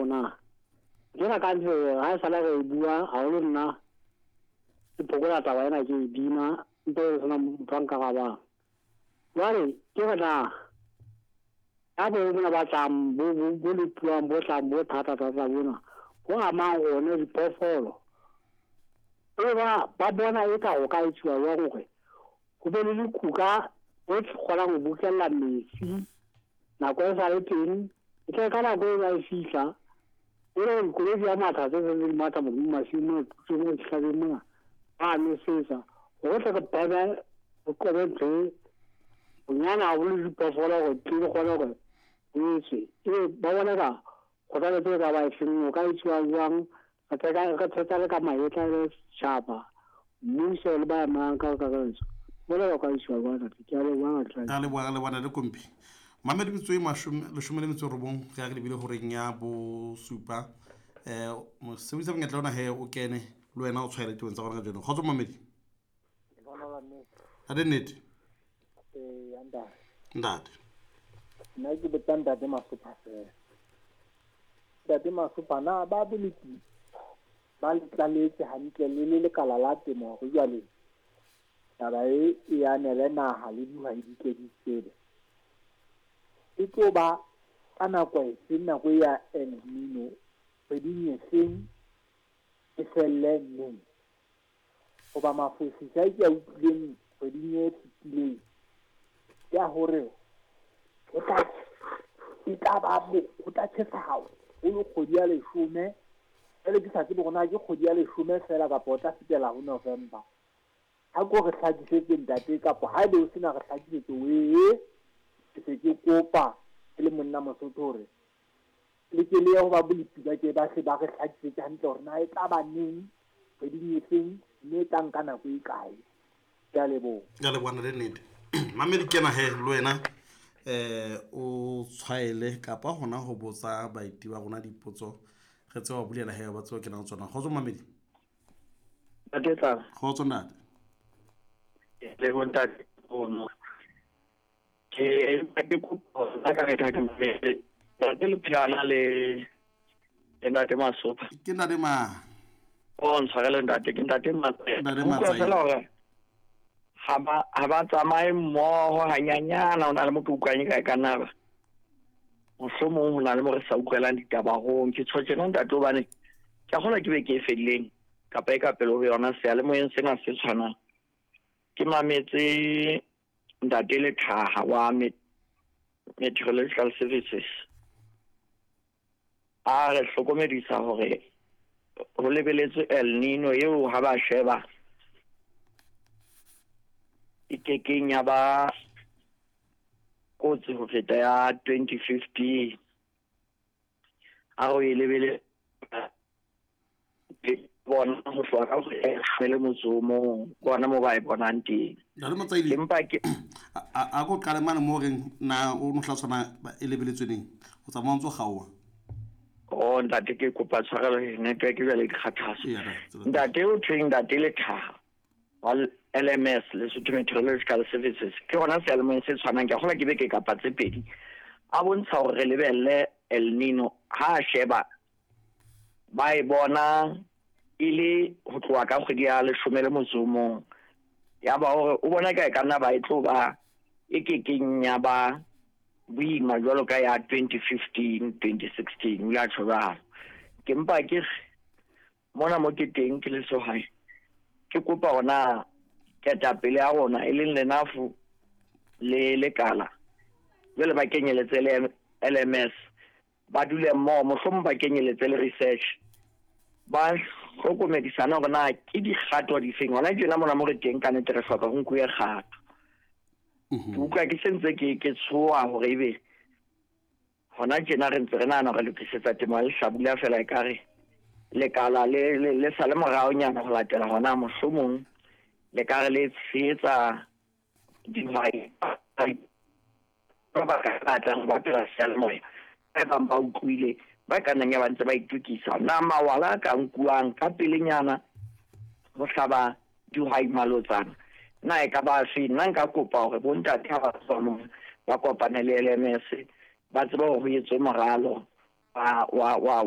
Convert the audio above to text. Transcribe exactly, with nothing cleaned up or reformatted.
na jena ka ntse ha sala re bua haholo nna ke phokola taba ena ke e bina mpe re sena motho a nkarabang. Jwale ke re na ya bo bona ba tlang bo bo bo lepuwang bo tlang bo thata thata bona bo amang one diphoofolo. E ba ba bona e ka ho ka etsuwa jwang hore ho be le dikuka o kgonang ho bokella metsi nako e sa le teng, e tle ka nako e ba e fihla e le dikoloi di a matha tse seng di matha modimo masimong mo dihlabeng mona ba nosetsa hore tle re pheme re qobe ntho e bonyane haholo diphoofolo hore di kgone hore ho etswe. Ebe ba bona ka kgothaletso e ka ba efeng ho ka etsuwa jwang re thetsa le ka mahetla le setjhaba mmuso le ba emang ka kakaretso bona ba ka etsuwa jwang ntate. Ke a leboha ntate. A leboha le bona le kompi mamedi metso e mashome leshome le metso e robong re ya re lebile horeng ya bosupa. Um mosebedisa monyetla ona he o kene le wena o tshwaele tebeng tsa rona kajeno. Kgotso mamedi. Ade nnete ntate. Nna ke botsa ntate Masopha fela. Ntate Masopha, na ba boleti ba le tlaletse hantle le le lekala la temo hore jwale taba e e anele naha le dihwai di tle di tsebe? E tlo ba ka nako efe, nako ya El Nino, kgweding efeng, e felle neng? Hoba mafosisa a ke a utlwileng kgweding e fetileng ke a hore ho tla e tla ba ho tla tjhesa haholo kgwedi ya leshome. Jwale ke sa tsebe hore na ke kgwedi ya leshome feela kapa o tla fetela ho November. Ha ko re hlakisetse ntate, kapa haebe o sena re hlakisetse wee, ke se ke kopa ke le monna Mosotho hore le ke le ye ho ba bolepi ba ke ba hle ba re hlakisetse hantle hore na e tla ba neng, kgweding efeng, mme e tla nka nako e kae. Ke a leboha. Ke a leboha le nnete. Mamedi kena he le wena eh o tshwaele kapa hona ho botsa baeti ba rona dipotso re tseba ho bulela he ba tseba kenang tsona. Kgotso mamedi. Ntate Tlala. Kgotso ntate. Le bo ntate ono. Ke ke kopa nna ka re ka ke ntate le phela le le ntate Masopha. Ke ntate ma. O ntshwarele ntate, ke ntate Matsae. Ntate Utlwa Matsae. fela hore ha ba ha ba tsamaye mmoho hanyanyana, ho na le mo ke utlwang e ka e ka nna ba. Mohlomong ho na le mo re sa utlwelang ditaba hong. Ke tjho tjena ntate hobane ke a kgolwa ke beke e fedileng kapa e ka pele ho yona seyalemoyeng sena se tshwanang. Ke mametse ntate Lethaha wa Meteorological Services a re hlokomedisa hore ho lebeletswe El Nino eo ha ba sheba e kekeng ya ba kotsi ho feta ya twenty fifteen. A re e lebele bona ho tloha ka ho e le motso o mong, ke ona moo ba e bonang teng. Ntate Motsaile, Empa ke a a ko qale mane mo reng na o no hla tshwana e lebeletswe neng? O tsamaya o ntso kgaoha. Oh ntate ke kopa tshwarelo, network jwale e dikgathatso. Eya, tsela. Ntate o thweng ntate Lethaha wa L M S, Lesotho Meteorological Services, ke hona seyalemoyeng se tshwanang, ke a kgolwa ke beke kapa tse pedi. A bontsha hore re lebelle El Nino ha a sheba ba e bona e le ho tloha ka kgwedi ya leshome le motso o mong. Ya ba hore o bona ka e ka nna ba e tlo ba e kekeng ya ba boima jwalo ka ya twenty fifteen, twenty sixteen, o ile a tjho jwalo. Ke mpa ke re mona mo ke teng ke le sehwai, ke kopa hona ketapele ya rona e leng Lenafo le Lekala jwale ba kenyeletse le L M S, ba dule mmoho, mohlomong ba kenyeletse le research, ba hlokomedisana hore na ke dikgato difeng. Hona tjena mona mo re teng ka nnete re hloka ho nkuwe kgato. Ke utlwa ke sentse ke ke tshoha hore ebe hona tjena re ntse re nahana hore re lokisetsa temo ya lehlabula feela ekare lekala le, le, le sale moraonyana ho latela hona, mohlomong le ka re le tshehetsa dihwai ba ba ka batlang ho bapela seyalemoya, ba bang ba utlwile ba ka nnang ya ba ntse ba itokisa. Na mawala a ka nkuwang ka pelenyana ho hlaba dihwai malotsana na e ka ba afe? Nna nka kopa hore bontate ha ba tswa mona ba kopane le L M S, ba tsebe hore ho etswe moralo wa, wa, wa